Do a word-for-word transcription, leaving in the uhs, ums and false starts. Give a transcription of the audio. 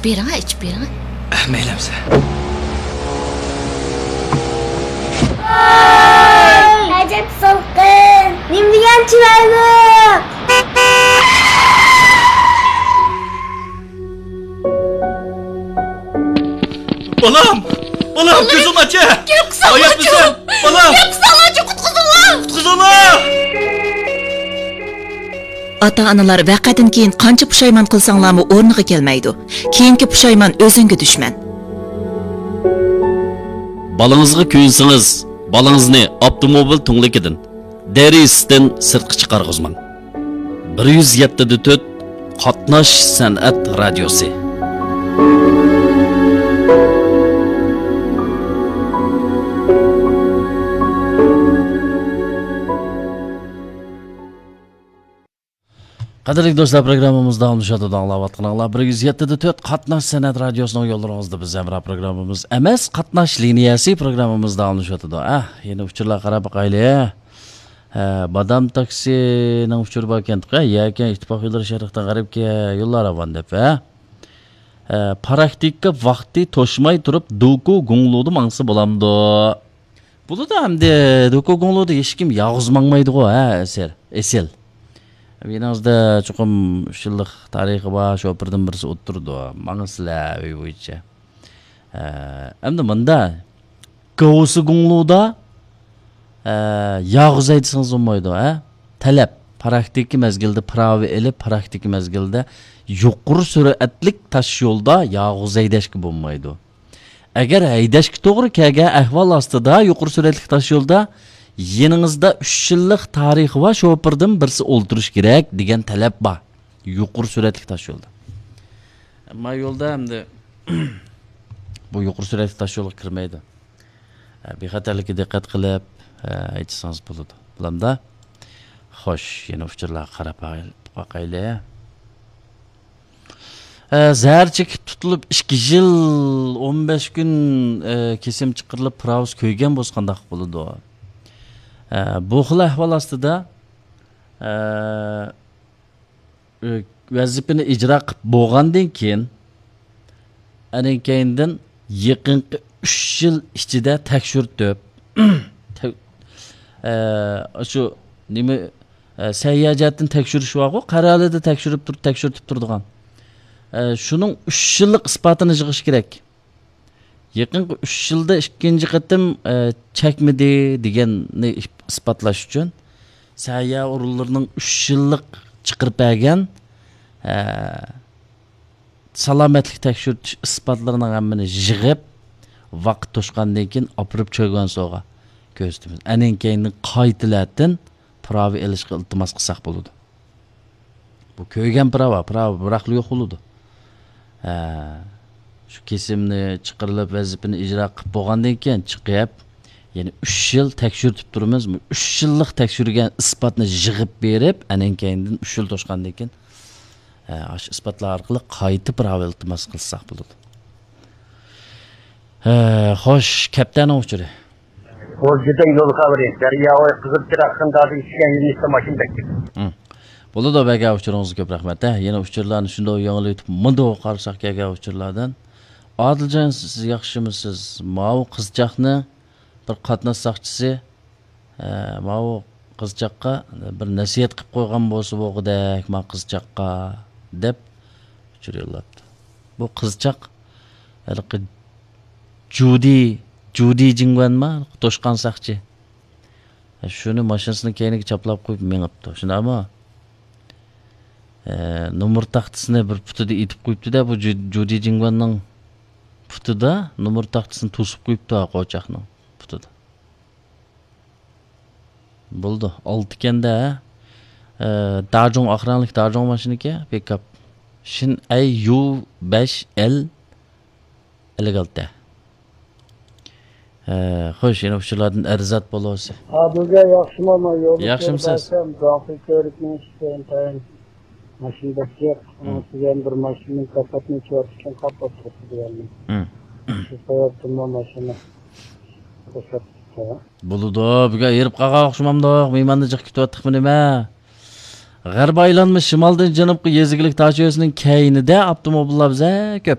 بېرىڭە، ئىچىپ بېرىڭە. مەيلى ئەمسە. ئەجەب سالقىن، نېمىدېگەن چىرايلىق. بالام! بالام، كۆزۈڭنى ئاچە! گەپ قىلساڭلارچۇ! بالام! گەپ قىلساڭلارچۇ، قۇتقۇزۇڭلار! قۇتقۇزۇڭلار! ئاتا-ئانىلار ۋەقەدىن كېيىن قانچە پۇشايمان قىلساڭلارمۇ ئورنىغا كەلمەيدۇ. كېيىنكى پۇشايمان ئۆزۈڭگە دۈشمەن. بالىڭىزغا كۆيۈنسىڭىز، بالىڭىزنى ئاپتوموبىل تۈڭلۈكىدىن، دېرىزىسىدىن سىرتقا چىقارغۇزماڭ. بىر يۈز يەتتە دە تۆت قاتناش سەنئەت رادىيوسى. قەدىرلىك دوستلار، پروگراممىمىز داۋاملىشىۋاتىدۇ. ئاڭلاۋاتقىنىڭلار بىر يۈز يەتتە دە تۆت قاتناش سەنئەت رادىيوسىنىڭ يوللىرىڭىزدا بىز ھەمراھ پروگراممىمىز ئەمەس، قاتناش لىنىيەسى پروگراممىمىز داۋاملىشىۋاتىدۇ. ئە، يەنە ئۇچۇرلارغا قاراپ باقايلى. ھە، بادام تاكسىنىڭ ئۇچۇرى باركەنتۇق، ھە، يەكەن ئىتتىپاق يوللىرى شەرقتىن غەربكە يوللار راۋان دەپ، ھە. ھە، پراكتىكا ۋاقتى توشماي تۇرۇپ دوكۇ گۇڭلۇدا ماڭسا بولامدۇ؟ بولىدۇ ئەمدى، دوكۇ گۇڭلۇدا ھېچكىم يالغۇز ماڭمايدىغۇ، ھە، ئېسىل، ئېسىل. يېنىڭىزدا چوقۇم ئۈچ يىللىق تارىخى بار شوپۇردىن بىرسى ئولتۇرىدۇ، ماڭىسىلەر ئۆي بويىچە. ھە، ئەمدى مۇندا، گاۋسى گۇڭلۇدا، ھە، يالغۇز ھەيدىسىڭىز بولمايدۇ، ھە. تەلەپ، پراكتىكا مەزگىلىدە پىراۋا ئېلىپ، پراكتىكا مەزگىلىدە يۇقىرى سۈرئەتلىك تاش يولدا يالغۇز ھەيدەشكە بولمايدۇ. ئەگەر ھەيدەشكە توغرا كەلگەن ئەھۋال ئاستىدا يۇقىرى سۈرئەتلىك تاش يولدا يېنىڭىزدا ئۈچ يىللىق تارىخى بار شوپۇردىن بىرسى ئولتۇرۇشى كېرەك دېگەن تەلەپ بار. يۇقىرى سۈرئەتلىك تاش يولدا. ئەمما يولدا ئەمدى بۇ يۇقىرى سۈرئەتلىك تاش يولغا كىرمەيدۇ. بىخەتەرلىككە دىققەت قىلىپ ھەيدىسىڭىز بولىدۇ. بولامدا؟ خوش، يەنە ئۇچۇرلارغا قاراپ باقايلى. ئە، زەھەر چېكىپ تۇتۇلۇپ ئىككى يىل ئون بەش كۈن، ئە، كېسىم چىقىرىلىپ، پىراۋىسى كۆيگەن بولسا قانداق بولىدۇ؟ ئە، بۇ خىل ئەھۋال ئاستىدا، ئە، ئە، ۋەزىپىنى ئىجرا قىلىپ بولغاندىن كېيىن، ئەنىڭ كەينىدىن يېقىنقى ئۈچ يىل ئىچىدە تەكشۈرتۈپ، تە-، ئە، شۇ نېمە، ئە، سەھىيە جەھەتتىن تەكشۈرۈش بارغۇ، قەرەلىدە تەكشۈرۈپ تۇر-، تەكشۈرتۈپ تۇرىدىغان. ئە، شۇنىڭ ئۈچ يىللىق ئىسپاتىنى يىغىش كېرەك. يېقىنقى ئۈچ يىلدا ئىككىنچى قېتىم، ئە، چەكمىدى دېگەننى ئىسپاتلاش ئۈچۈن سەھىيە ئورۇنلىرىنىڭ ئۈچ يىللىق چىقىرىپ بەرگەن، ئە، سالامەتلىك تەكشۈرتۈش ئىسپاتلىرىنىڭ ھەممىنى يىغىپ، ۋاقىت توشقاندىن كېيىن ئاپىرىپ چۆگۈەنسوغا كۆرسىتىمىز. ئەنىڭ كەينىدىن قايتىلەتىن پىراۋا ئېلىشقا ئىلتىماس قىلساق بولىدۇ. بۇ كۆيگەن پىراۋا، پىراۋا بىراقلا يوق بولىدۇ. ھە، شۇ كېسىمنى چىقىرىلىپ، ۋەزىپىنى ئىجرا قىلىپ بولغاندىن كېيىن چىقىپ، يەنە ئۈچ يىل تەكشۈرتۈپ تۇرىمىز. بۇ ئۈچ يىللىق تەكشۈرگەن ئىسپاتنى يىغىپ بېرىپ، ئەنىڭ كەينىدىن ئۈچ يىل توشقاندىن كېيىن، ھە، ئاشۇ ئىسپاتلار ئارقىلىق قايتا پىراۋا ئىلتىماس قىلساق بولىدۇ. ھە، خوش، كەپتەرنىڭ ئۇچۇرى. بۇ جۈدەن يول خەۋىرى، دەرياۋاي قىزىل چىراغ قىنداقدىن چۈشكەن يۆنىلىشتە ماشىنا بەككىدى. ھىم. بولىدۇ، بەرگەن ئۇچۇرىڭىزغا كۆپ رەھمەت، ھە. يەنە ئۇچۇرلارنى شۇنداق يېڭىلىتىپ، مۇنداق قارىساق كەلگەن ئۇچۇرلاردىن. ئادىلجان، سىز ياخشىمۇسىز؟ ماۋۇ قىزچاقنى بىر قاتناش ساقچىسى، ئە، ماۋۇ قىزچاققا بىر نەسىھەت قىلىپ قويغان بولسا بولغۇدەك، ما قىزچاققا، دەپ ئۇچۇر يوللاپتۇ. بۇ قىزچاق ھېلىقى جۇدى، جۇدى جىڭگۈەنما؟ توشقان ساقچى. شۇنى ماشىنىسىنىڭ كەينىگە چاپلاپ قويۇپ مېڭىپتۇ. شۇنداقمۇ؟ ئە، نومۇر تاختىسىنى بىر پۇتىدا ئېتىپ قويۇپتۇ-دە، بۇ جۇ-، جۇدى جىڭگۈەننىڭ پۇتىدا نومۇر تاختىسىنى توسۇپ قويۇپتۇ، ھە، قوچاقنىڭ پۇتىدا. بولىدۇ، ئالتە ئىكەن-دە، ھە. ئە، داجۇڭ، ئاق رەڭلىك داجۇڭ ماشىنىكەن، پىكاپ. شىن ئەي يۇ بەش ئېل ئەللىك ئالتە. ھە، خوش، يەنە ئۇچۇرلاردىن ئەرزات بولۇسى. ئادىلجان، ياخشىمۇ؟ مانا يولدا ياخشىمۇسىز؟ كۆرۈپ بەرسەم، داڭخۇي كۆۋرۈكنىڭ ئىشىكى ئىنتايىن ماشىنا بەك جىق. ھىم. ئۇنىڭ ئۈستىگە يەنە بىر ماشىنىنىڭ كاپاتىنى ئېچىۋاتىدىكەن، قاپ ئولتۇرۇپتۇ دېگەننى. ھىم. شۇ سەۋەبتىنمۇ ماشىنا توساتتى. بولىدۇ، بۈگۈن ھېرىپ قالغان ئوخشىمامدۇق؟ مېھماننى جىق كۈتۈۋاتتۇقمۇ نېمە؟ غەربىي ئايلانما شىمالدىن جەنۇبقا يېزا ئىگىلىك تاش يولىسىنىڭ كەينىدە ئاپتوموبىللار بەك كۆپ.